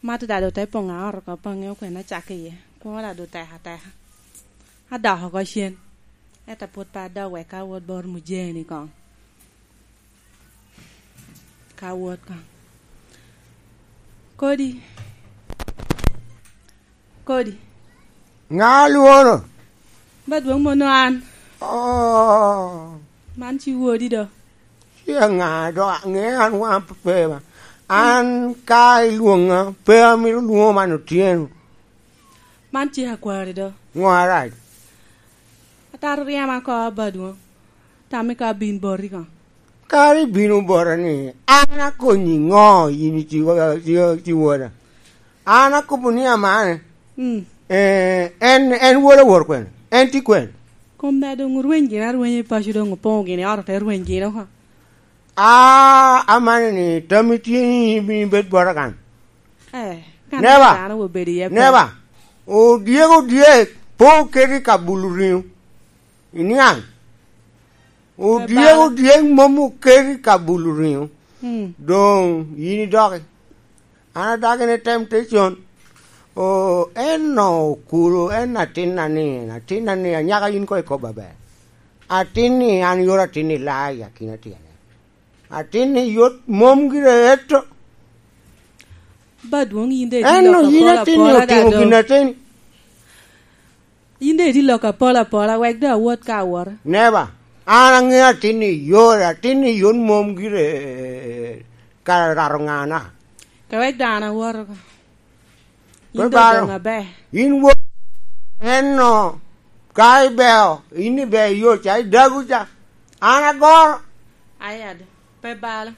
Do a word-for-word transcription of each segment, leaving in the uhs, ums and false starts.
Mato daŋ doŋ te poŋ a ot oko, pe aŋeo kwene acak iye. Kwoŋo daŋ doŋ tek ateka. Adok oko cen. Ento pwod pe adok wek ka awot bot mujee-ni koŋ. Ka awot koŋ. Kodi. Kodi. Ŋa lwono? Ba dwoŋ mono an. Oh. Man ci wodi do. Ci aŋa do, aŋe an waŋ pe ba. An ka ilwoŋa, pe amito lwoŋo man otyeno. Man ci akwari do. Ŋo arac? Ataro ryema ko ba dwoŋ. Tammi ka bin boti koŋ. Kara ibino bota ni, "An akonyi ŋo, yin iti-, iti-, iti woda?" An akobo ni, "Amane." Mm. Eh, en, en woda wor kwene? En tye kwene? Kom da doŋ orweny gin arwenya i paco, doŋ opoŋo gin i ot, ote rweny gin oko. Ah, amane ni, tammi tye ni ibino bed bota kan? Eh, kan Neba. Dano obedo iye pe. Neba. Odyek, odyek, pe oketi ka bulo riŋo. Iniaŋ? Odyek, odyek mom oketi ka bulo riŋo. Mm. Doŋ yin idoki. An adagi ni temptation. O, en no okuro, en atinna ni, atinna ni, anyaka yin ko ikobo aber. Atin ni, an yoro atin ni laa i akina tyene. Atin ni yot mom gire eto. Ba dwoŋ yin de En no yin atin ni otimo gin atin. Yin de itye lok apol apola, wek doŋ awot ka awot. Neba, an aŋeo atin ni yot, atin ni yot mom gire, eh, ka rato ŋana. Ka wek doŋ an awot oko. Yin doŋ doŋ aber. Yin wo-, en no, ka ibeo, yin ibeo yot, ca idagu ca. An agoro. Ayad, pe balo.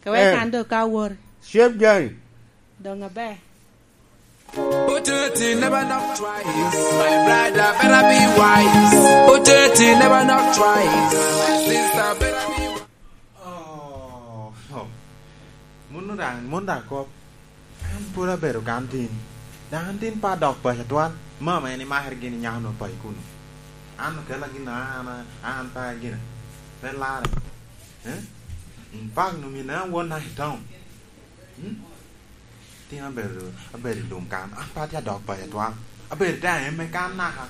Ka wek Eh. An doŋ ka awot. Shep Jani. Doŋ aber. Put it in, never knock twice. My brother, better be wise. Put it in, never knock twice. My sister, better be wise. Oh, oh. Munu daŋ, mun daŋ kop. An pwod abedo kan tin. Daŋ an tin pe adok paco atwal. Mama en imakere gin i nyaka onwoŋo paco kuno. An okela gin a an, an pe gin. Pe lare. Eh? In fact, no min an won na i town. Hmm? Tin abedo, abedo i lum kan. An pe atye adok paco atwal. Abedo te aemme kan naka.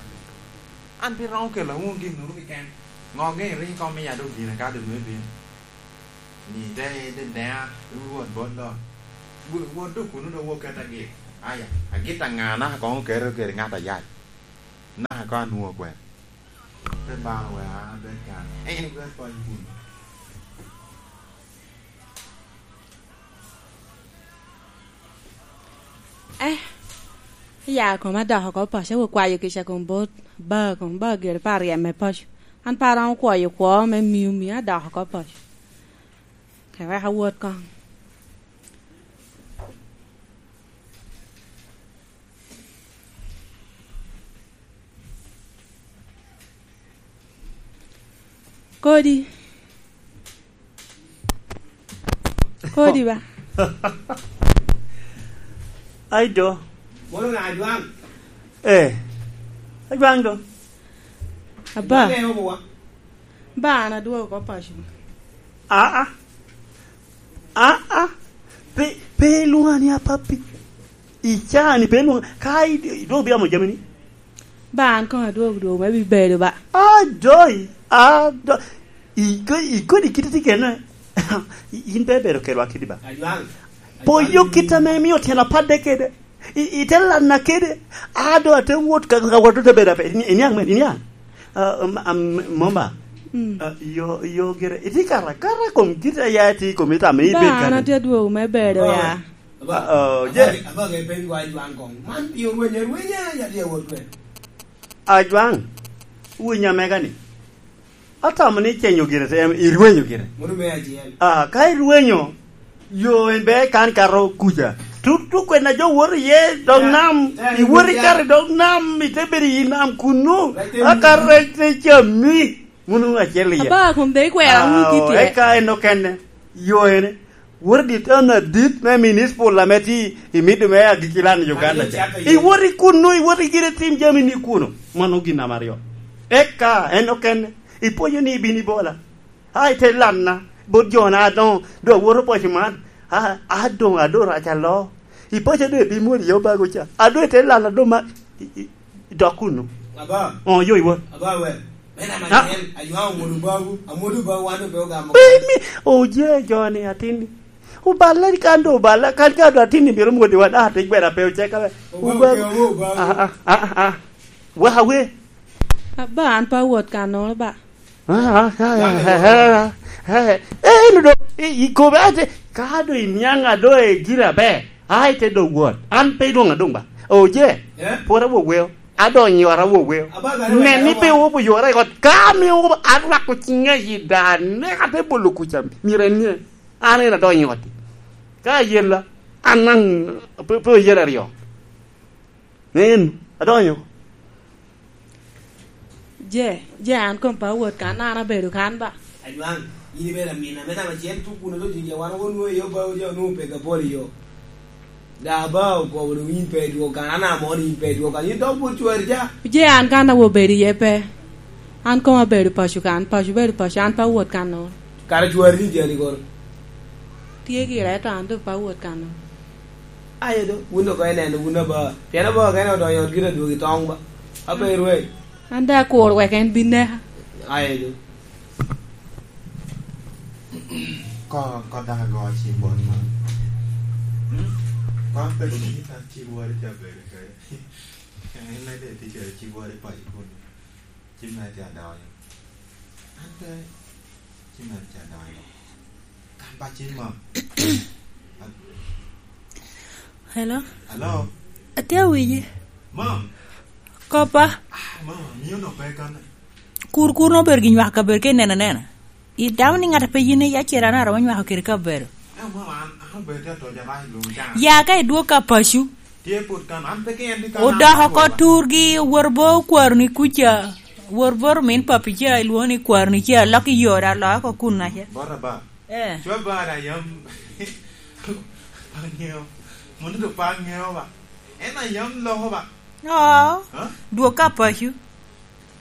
An pe romo kelo awoŋo gin nuru keken. Ŋo ŋe ring kom iya dok gin ka dong nwe bino. Ni te, te dea, wot bot lo. Wo-, wot dok kuno dok wot ket agit. Aya, agit aŋa naka koŋ oketo kede ŋat ayac. Naka koŋ anwoŋo kwene. Te balo wek an abed kan. En kwene kony kuno. Eh, ya kom adok oko paco, akwayo kica kom bot ba, kom ba gire pa ryem me paco. An pe aromo kwoyo kwo me miyo, miyo adok oko paco. Ka wek awot koŋ. Kodi. Kodi ba. Ai do. Mono na Ajwaŋ. Eh. Ajwaŋ do. Aba. Ajwaŋ ne obowa. Ba an adwogo oko paco. Ah, ah. Ah, ah. Pe, pe ilwoŋa ni apappi. I caa-ni pe ilwoŋa. Ka i-, idwogo bia mo jamini. Ba an koŋ adwogo dwogo me bibedo ba. Adoi, adoi. Iko-, ikodi kite tye kene. In pe ibedo kelwa kidi ba. Ajwaŋ. Poyo kit ame imio tyen apadde kede. I, ite lanna kede. Ado ate wot ka, ka wot te bedo ape. Ini-, iniaŋ men, iniaŋ. Ah, um, um, Momba. Mm. Ah, yo, yo gire. Iti kara, kara kom kit a ya iti kom ita me ibed kare. Ba an atye dwogo me bedo ya. Aba, oh, je. Aba, aba ke peny wa Ajwaŋ kong. Man pi orwenyo, orwenyo ya tye wot kwe. Ajwaŋ, winyo amega ni. Atamo ni icenyo gire, te, irwenyo gire. Mono me acel. Ah, ka irwenyo, yo en be kan kato kuca. Tu, tu kwena jo woto iye dog nam, iwoto ikato i dog nam, ite bedo i nam kunu, aka rec te cami, munu acel iye. Aba, kun de ikwera, munu kiti e. Eka en okene, yo ene, woto dit en adit me municipal ame ti i middle me agikki lan i Uganda ca. Iwoto i kunu, iwoto i gire tim jami ni kunu. Mano gin namba aryo. Eka en okene, ipwonyo ni ibino ibola. Ai, te lanna, bot jona adoŋo, doŋ awoto paco man. A, a doŋ, ador aca lo. I paco doŋ ebimwod iye obago ca. A doŋ ite lal a doŋ ma, i, i, i dok kuno. Aba. Oh, yo iwot. Aba we. Men ama Ah. Kel, aywa amwodo bagu, amwodo bagu, wan doŋ pe ogamo. Pe mi, oje joni atinni. Oballa kan doŋ oballa, kan ka doŋ atinni myero omwodi wan, ah, te gwera pe oceka we. Obago Obago. Ke, obago. Ah, ah, ah, ah. Wek awe. Aba an pe awot kannono ba. Ah, ah, ah, ah, ah, ah, ah. Eh, eno do, i, i kobe ate, ka do iniaŋ a do e gira be, ai te do wot. An pe idwoŋ adoŋ ba. Oje, Eh? Pwod awoweo. Adonyo i ot awoweo. Aba, aba, aba, Nen ni aba. Pe wobo yora i ot. Ka mi wobo, arwako ciŋa i da, ne ka te bolo kuca, myero enie. An en adonyo i ot. Ka ayela, an naŋ, pe, pe oyela aryo. Nen, adonyo. Je, je an kom pe awot kan, an abedo kan ba. Anywang, in ibedo amin, ame namba acel tuk kun odoŋ tye wan onwoŋo i yo ba oja onwoŋo pego apol i yo. Da ba okobo doŋ in pe idwog kan, an amo ni in pe idwog kan, in dok bot cwari ca. Je an kan awo bedo iye pe. An kom abedo paco kan, paco bedo paco, an pe awot kan no. Kara cwari ni jani kono. Tye gire, ento an doŋ pe awot kan no. Aye do, wun dok ineno wun aba. Pien aba kene odonyo i ot gin adwogi toŋ ba. Aba irweny. An daŋ akur wek en bin neka. Aye do. Ko, ko daŋ ago cim bot man. Ko an pe cim, an cim wari ca bedo kede. En en de tye kede cim wari pa ikuni. Cim na tye adonyo. An pe cim na tye adonyo. Kan pa cim ma. Hello? Hello? Atye awinyi. Mom. Kopa? Ah, mom, miyo no pe kan. Kur kur no ber gi nywaka ber ke nena nena. I dano ni ŋat a pe yin iya cera na romo nywako kede kabedo. Eh, mom, an, an obedo te atoja ba i lum can. Ya ka idwog ka pacu. Tye pud kan, an pe ke en di kan. Odoko an ko akoba. Turgi, wor bo kwaro ni kuca. Wor bot omin papi ca, ilwoŋo ni kwaro ni ca, lok i yo, da, lok oko kun aca. Bot aba. Eh. Cwa ba da yam. Pa ŋeo. Mono do pa ŋeo ba. En a yam loko ba. Oo. Ha? Dwog ka pacu.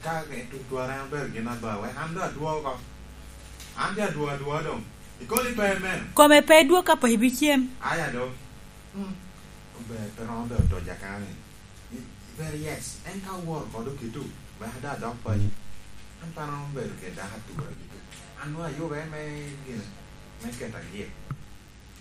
Ka en tuk twara en obedo gin adwa, wek an do adwo oko. An de adwo adwo doŋ. Ikoni pe meno. Kome pe dwog ka pacu bicem. Aya do. Hmm. Ober pe romo bedo toja kani. Very yes. En ka oworo kodo kitu, wek ada dok paco. An pe romo bedo kede dako atura kitu. An nwoŋo ayube me gine, me keto agik.